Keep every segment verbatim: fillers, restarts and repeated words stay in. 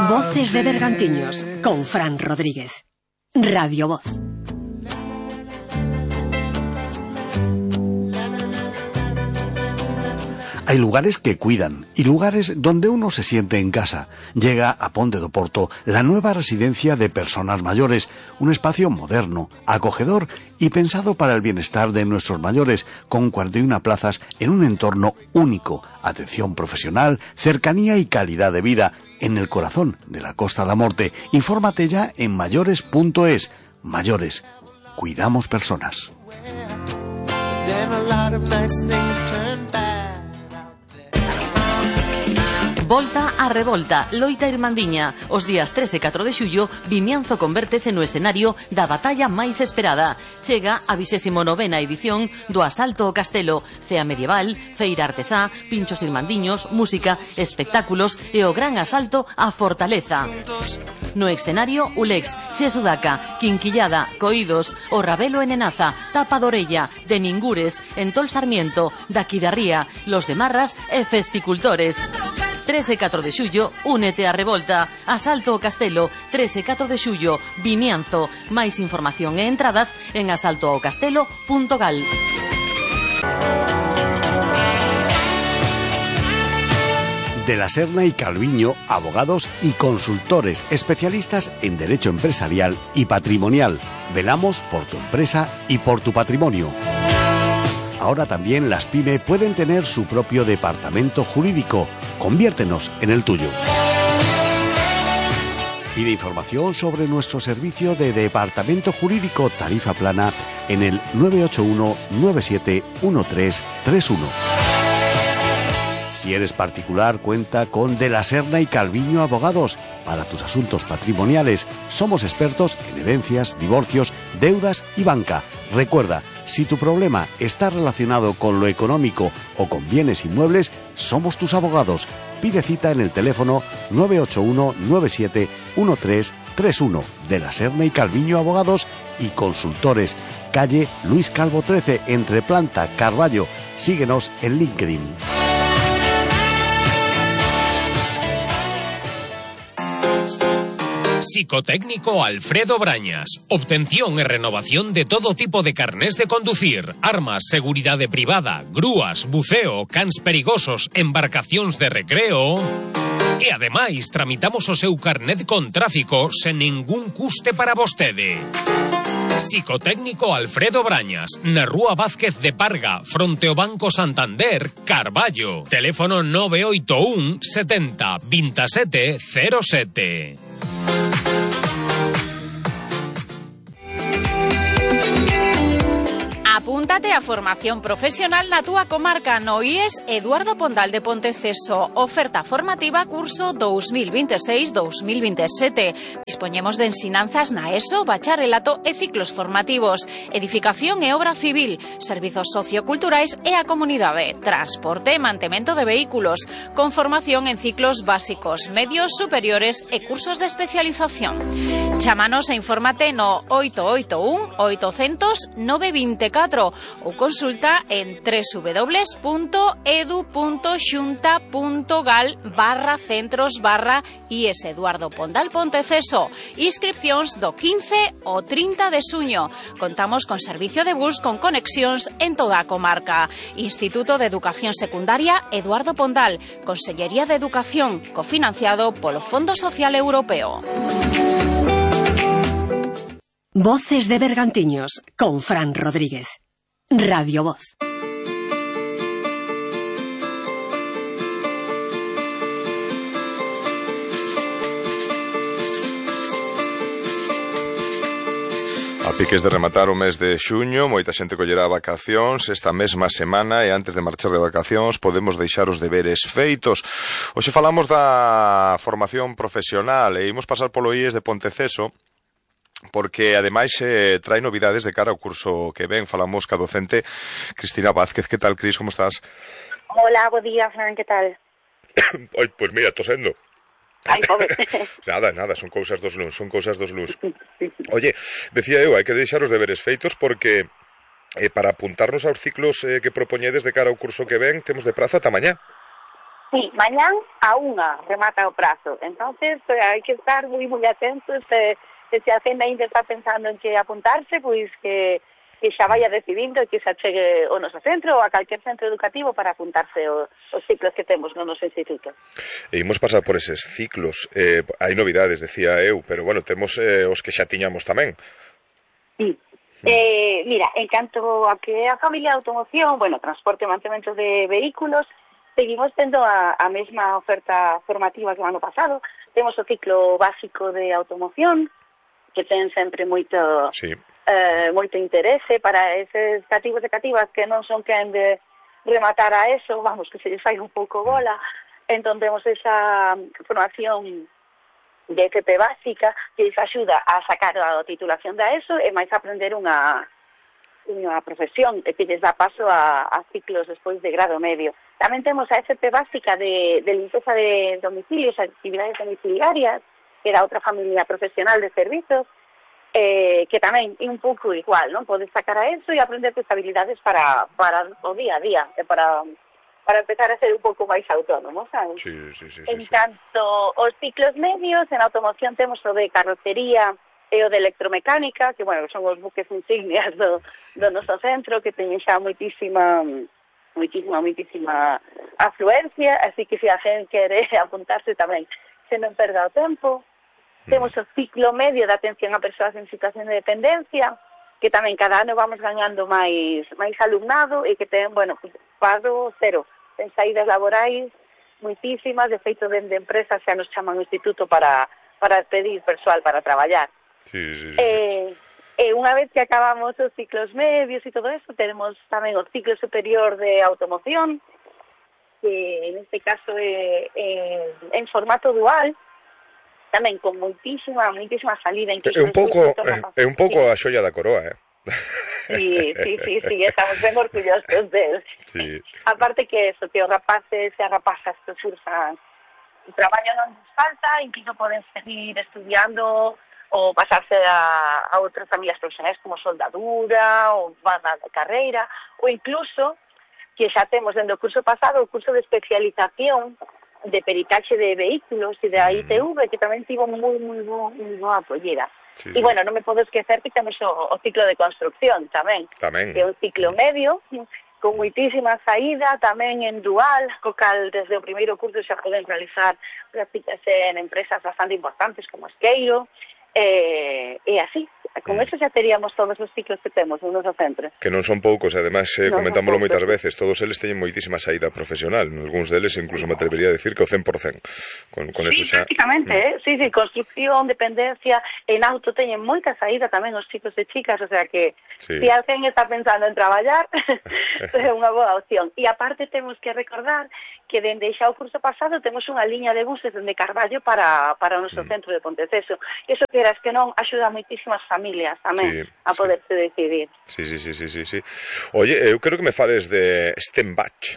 Voces de Bergantiños con Fran Rodríguez. Radio Voz. Hay lugares que cuidan y lugares donde uno se siente en casa. Llega a Ponte do Porto la nueva residencia de personas mayores, un espacio moderno, acogedor y pensado para el bienestar de nuestros mayores, con cuarenta y una plazas en un entorno único, atención profesional, cercanía y calidad de vida en el corazón de la Costa da Morte. Infórmate ya en mayores punto es. Mayores, cuidamos personas. Volta a revolta, loita irmandiña. Os días tres e catro de xullo, Vimianzo convértese no escenario da batalla máis esperada. Chega a vigésima novena edición do Asalto ao Castelo. Cea medieval, feira artesá, pinchos irmandiños, música, espectáculos e o gran asalto á fortaleza. No escenario, Ulex, Che Sudaca, Quinquillada, Coídos, O Rabelo en Enaza, Tapa d'Orella, de Ningures, Entol Sarmiento, Daquidarría, Los de Marras e Festicultores. tres e catro de xullo, únete á revolta. Asalto ao Castelo, tres e catro de xullo, Vimianzo. Máis información e entradas en asalto ao castelo punto gal. De la Serna y Calviño, abogados y consultores especialistas en derecho empresarial y patrimonial. Velamos por tu empresa y por tu patrimonio. Ahora también las pyme pueden tener su propio departamento jurídico. Conviértenos en el tuyo. Pide información sobre nuestro servicio de departamento jurídico tarifa plana en el nueve ocho uno nueve siete uno tres tres uno. Si eres particular, cuenta con De la Serna y Calviño Abogados. Para tus asuntos patrimoniales, somos expertos en herencias, divorcios, deudas y banca. Recuerda, si tu problema está relacionado con lo económico o con bienes inmuebles, somos tus abogados. Pide cita en el teléfono nueve ocho uno nueve siete uno tres tres uno. De la Serna y Calviño Abogados y Consultores. Calle Luis Calvo trece, entre Planta, Carballo. Síguenos en LinkedIn. Psicotécnico Alfredo Brañas. Obtención e renovación de todo tipo de carnés de conducir, armas, seguridade privada, grúas, buceo, cans perigosos, embarcacións de recreo. E ademais, tramitamos o seu carnet con tráfico sen ningún custe para vostede. Psicotécnico Alfredo Brañas, na Rúa Vázquez de Parga, fronte ao Banco Santander, Carballo. Teléfono nove oito un setenta veintisiete cero sete. Apúntate a formación profesional na túa comarca no I E S Eduardo Pondal de Ponteceso. Oferta formativa curso dos mil veintiséis dos mil veintisiete. Dispoñemos de ensinanzas na ESO, bacharelato e ciclos formativos, edificación e obra civil, servizos socioculturais e a comunidade, transporte e mantemento de vehículos, con formación en ciclos básicos, medios, superiores e cursos de especialización. Chámanos e infórmate no oito oito un oitocentos nove veinticuatro ou consulta en doble u doble u doble u punto edu punto xunta punto gal barra centros barra I E S Eduardo Pondal Ponteceso. Inscripcións do quince ao trinta de xuño. Contamos con servicio de bus con conexións en toda a comarca. Instituto de Educación Secundaria Eduardo Pondal. Consellería de Educación, cofinanciado polo Fondo Social Europeo. Voces de Bergantiños con Fran Rodríguez. Radio Voz. A piques de rematar o mes de xuño, moita xente collerá vacacións esta mesma semana e antes de marchar de vacacións podemos deixar os deberes feitos. Hoxe falamos da formación profesional e imos pasar polo I E S de Ponteceso, porque ademais eh, trae novidades de cara ao curso que ven. Falamos ca docente Cristina Vázquez. Que tal, Cris? Como estás? Hola, bo día, Fran, que tal? Ai, pois mira, tosendo. Ai, pobre. Nada, nada, son cousas dos luns, son cousas dos luns. Oye, decía eu, hai que deixar os deberes feitos porque eh, para apuntarnos aos ciclos eh, que propoñedes de cara ao curso que ven, temos de praza ata mañá. Sí, mañán a unha remata o prazo. Entonces, pues, hai que estar moi moi atentos. Se, se a cena ainda está pensando en que apuntarse, pois que, que xa vaya decidindo que se achegue o noso centro ou a calquer centro educativo para apuntarse o, os ciclos que temos no noso instituto. E imos pasar por eses ciclos. Eh, hai novidades, decía eu, pero bueno, temos eh, os que xa tiñamos tamén. Sí. Eh, mira, en canto a que a familia de automoción, bueno, transporte e mantemento de vehículos, seguimos tendo a, a mesma oferta formativa que o ano pasado. Temos o ciclo básico de automoción, que ten sempre moito sí. eh, moito interese para eses cativos e cativas que non son quen de rematar a eso, vamos, que se lles fai un pouco bola. Entón temos esa formación de F P básica que lles axuda a sacar a titulación da ESO e máis aprender unha unha profesión e que lles dá paso a, a ciclos despois de grado medio. Tamén temos a F P básica de, de limpeza de domicilios, actividades domiciliarias, que era outra familia profesional de servizos, eh, que tamén é un pouco igual, non? Podes sacar a eso e aprender tus habilidades para, para o día a día, e para, para empezar a ser un pouco máis autónomo, sabes? Sí, sí, sí, en sí, canto aos ciclos medios, en automoción temos o de carrocería e o de electromecánica, que, bueno, son os buques insignias do, do noso centro, que teñen xa moitísima, moitísima, moitísima afluencia, así que se a xente quere apuntarse tamén, se non perda o tempo. Mm. Temos o ciclo medio de atención a persoas en situación de dependencia, que tamén cada ano vamos gañando máis máis alumnado e que ten, bueno, pues, paro cero, ten saídas laborais moitísimas, de feito dende empresas xa nos chaman o instituto para, para pedir persoal para traballar. Sí, sí, sí. Eh, e unha vez que acabamos os ciclos medios e todo eso, tenemos tamén o ciclo superior de automoción, que en este caso é, é en formato dual, tamén con moitísima, moitísima salida. É un pouco, é un pouco a xoia da coroa, eh? Sí, sí, sí, sí, estamos ben orgullosos deles. Sí. Aparte que eso, que os rapaces e as rapazas que cursan o traballo non les falta, incluso poden seguir estudiando ou pasarse a, a outras familias profesionais como soldadura ou van a carreira, ou incluso que xa temos dentro do curso pasado o curso de especialización de peritaxe de vehículos e de a I T V, que tamén tivo moi, moi, moi boa acollida. Sí, e, sí. bueno, non me podo esquecer que temos o, o ciclo de construcción tamén, tamén. que é un ciclo medio, con moitísima saída, tamén en dual, co cal desde o primeiro curso xa poden realizar prácticas en empresas bastante importantes como Esqueiro, e, e así, con eso xa teríamos todos os ciclos que temos no noso centro. Que non son poucos, e ademais eh, non comentámoslo moitas veces, todos eles teñen moitísima saída profesional, algúns deles incluso me atrevería a decir que o cen por cen. Con, con sí, eso xa... prácticamente, mm. eh? Sí, sí, construcción, dependencia, en auto teñen moita saída tamén os chicos e chicas, o sea que se si alguén está pensando en traballar, é unha boa opción. E aparte temos que recordar que dende xa o curso pasado temos unha liña de buses dende Carballo para, para o noso mm. centro de Ponteceso. Eso que eras que non axuda a moitísimas familias tamén sí, a poderse sí. decidir. Sí, sí, sí, sí, sí, sí. Oye, eu quero que me fales de Stenbach.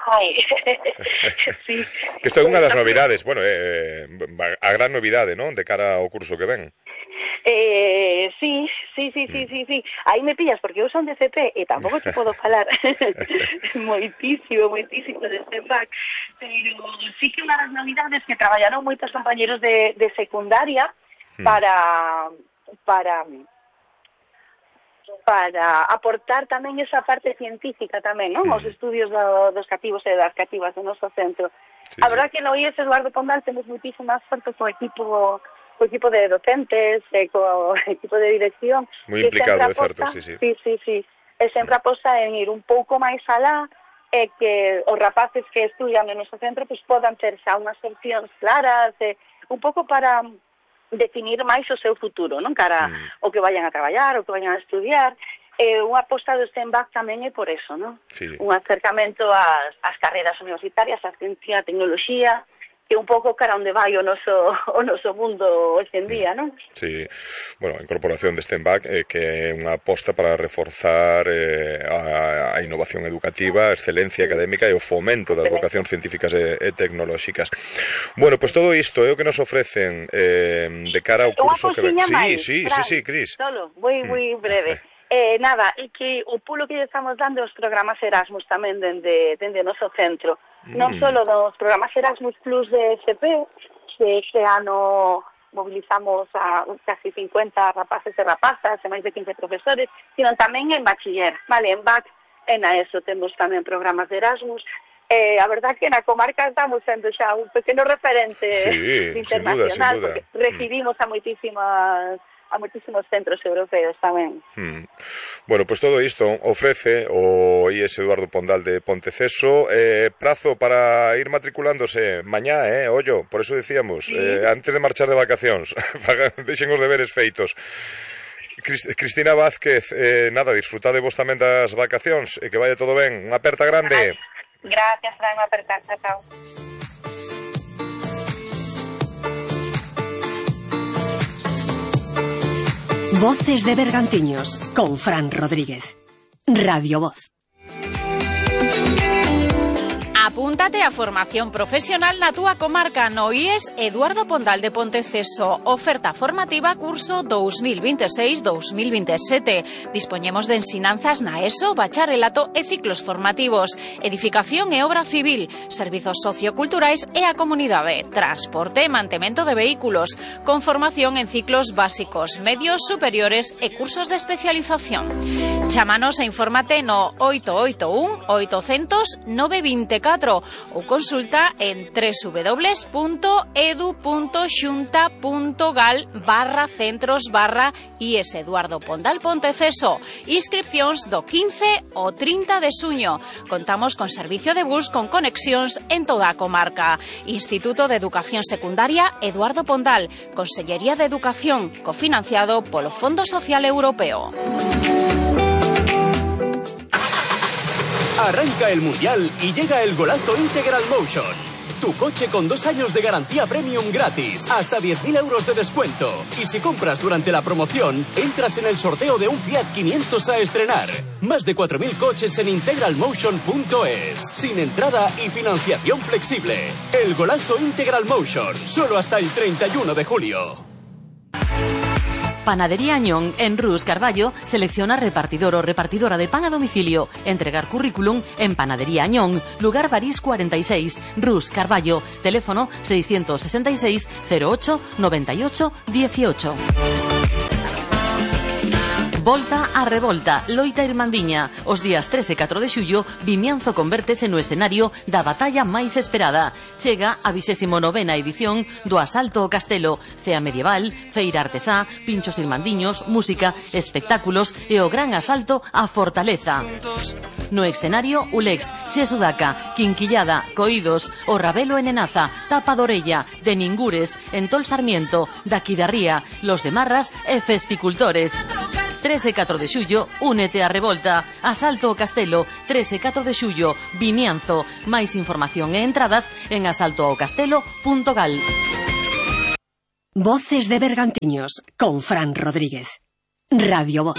Ai, sí. Que isto é unha das novidades, bueno, eh, a gran novidade, non? De cara ao curso que ven. Eh, sí, sí, sí, sí, sí, sí. Aí me pillas porque eu son de C P e tampouco te podo falar moitísimo, moitísimo de Stenbach, pero sí que unha das novidades que traballaron moitos compañeros de, de secundaria para para para aportar tamén esa parte científica tamén, non? Os estudios do, dos cativos e das cativas do noso centro. Sí, a verdad que no I E S Eduardo Pondal temos moitísimas sorte co equipo co equipo de docentes, e co equipo de dirección. Moi implicado, é certo, sí, sí. Sí, sí, sí. E sempre aposta en ir un pouco máis alá e que os rapaces que estudian no noso centro pues, podan ter xa unhas opcións claras, e un pouco para definir máis o seu futuro, non? Cara mm. o que vayan a traballar, o que vayan a estudiar. E unha aposta do Stenbach tamén é por eso, non? Sí. Un acercamento ás, ás carreras universitarias, á ciencia, a tecnoloxía, que un pouco cara onde vai o noso, o noso mundo hoxe en día, non? Sí, bueno, a incorporación de Stenbach eh, que é unha aposta para reforzar eh, a, a innovación educativa, a excelencia académica e o fomento das vocacións científicas e, e tecnolóxicas. Bueno, pois pues todo isto é o que nos ofrecen eh, de cara ao curso que ven. Sí, sí, sí, sí, Cris. Solo, moi, moi breve. Eh, nada, e que o pulo que estamos dando os programas Erasmus tamén dende, dende o noso centro. Mm. Non só dos programas Erasmus Plus de S P, que este ano mobilizamos a casi cincuenta rapaces e rapazas e máis de quince profesores, sino tamén en bachiller, vale, en B A C e na ESO temos tamén programas de Erasmus. Eh, a verdad que na comarca estamos sendo xa un pequeno referente sí, internacional, sin duda, sin duda. Porque recibimos a moitísimas a moitísimos centros europeos tamén. Hmm. Bueno, pues todo isto ofrece o I E S Eduardo Pondal de Ponteceso. Eh, prazo para ir matriculándose mañá, eh, ollo, por eso decíamos, sí. eh, antes de marchar de vacacións, deixen os deberes feitos. Cristina Vázquez, eh, nada, disfrutade vos tamén das vacacións e que vaya todo ben. Unha aperta grande. Gracias, Fran, unha aperta, chao. Voces de Bergantiños con Fran Rodríguez. Radio Voz. Apúntate a formación profesional na túa comarca no I E S Eduardo Pondal de Ponteceso. Oferta formativa curso dos mil veintiséis dos mil veintisiete. Dispoñemos de ensinanzas na ESO, bacharelato e ciclos formativos, edificación e obra civil, servizos socioculturais e a comunidade, transporte e mantemento de vehículos, con formación en ciclos básicos, medios, superiores e cursos de especialización. Chámanos e infórmate no oito oito un oitocentos nove veinticuatro ou consulta en www.edu.xunta.gal barra centros barra I E S Eduardo Pondal Ponteceso. Inscripcións do quince ao trinta de xuño. Contamos con servicio de bus con conexións en toda a comarca. Instituto de Educación Secundaria Eduardo Pondal. Consellería de Educación, cofinanciado polo Fondo Social Europeo. Arranca el Mundial y llega el golazo Integral Motion. Tu coche con dos años de garantía premium gratis, hasta diez mil euros de descuento. Y si compras durante la promoción, entras en el sorteo de un Fiat quinientos a estrenar. Más de cuatro mil coches en integral motion punto es. Sin entrada y financiación flexible. El golazo Integral Motion, solo hasta el treinta y uno de julio. Panadería Añón, en Rus Carballo, selecciona repartidor o repartidora de pan a domicilio. Entregar currículum en Panadería Añón, lugar París cuarenta y seis, Rus Carballo, teléfono seiscientos sesenta y seis cero ocho noventa y ocho dieciocho. Volta a Revolta, loita irmandiña. Os días tres e catro de xullo, Vimianzo convértese no escenario da batalla máis esperada. Chega a vigésima novena edición do Asalto ao Castelo, cea medieval, feira artesá, pinchos irmandiños, música, espectáculos e o gran asalto á fortaleza. No escenario, Ulex, Che Sudaca, Quinquillada, Coídos, O Rabelo en Enaza, Tapa d'Orella, de Ningures, Entol Sarmiento, Daquidarría, Los de Marras e Festicultores. tres e catro de xullo, únete a Revolta. Asalto ao Castelo, tres e catro de xullo, Vimianzo. Máis información e entradas en asalto ao castelo punto gal. Voces de Bergantiños con Fran Rodríguez. Radio Voz.